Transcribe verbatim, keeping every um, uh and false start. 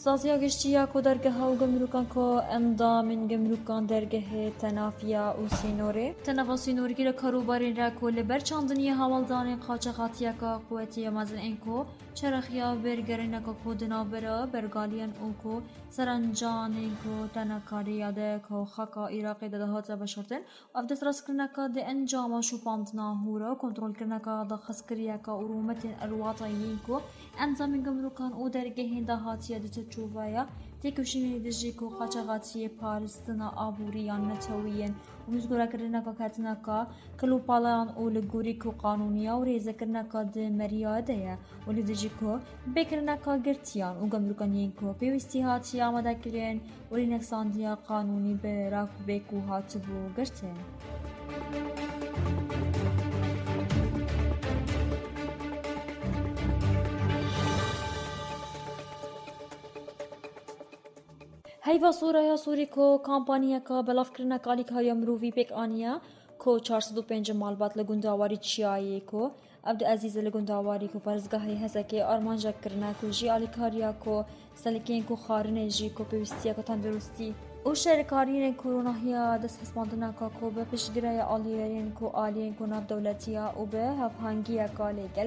Saziya giştî ya ku dergeha û gumrûkan ku endamên gumrûkan dergehê tenafiya û sînorê, tenafa sînorî li karûbarên re ku li ber çandiniyê hawaldanên qaçaxatiyeka quwetî ya mezin ên ku çerexî ya vêrgerîneka ku di navbera bergaliyan û ku serencanên ku tenekariya de ku xaka Iraqê de dihate veşartin, ev destrastkirineka di encama şopandina hûr û kontrolkirineka daxwazkiriyeka û rûmetên elwata yên ku endamên gumrûkan û dergehên dahatiya di çarçoveya têkoşînê dijî ku qaçaxatiyê, parastina aborî yan netewî yên û mizgûrekirineka ketineka kilopalayan û li gorî ku qanûniya û rêzekirineka di meriya de ye û li dijî ku bêkirineka girtiyan û gumrûkan yên ku pêwîstî hatiye amadekirin û lêneksandiya qanûnî bi rakbê ku hatibû girtin. Heyva Soraya Sorî ku kampanyayeka belavkirineka alîkariya mirovî pêk aniye ku çar sed û pêncî malbat li gundewarî Çiyayê ku ev du ezîz li gundewarî ku parêzgehê Hesekê armanc kirine ku jî alîkariya ku selikên ku xwarinê jî ku pêwîstiyeke tenduristî û şerkariyên ku ronahiya desthespandineka ku bi piştgirêya aliyerên ku aliyên ku navdewletî ya û bi hevhengiyeka lêgel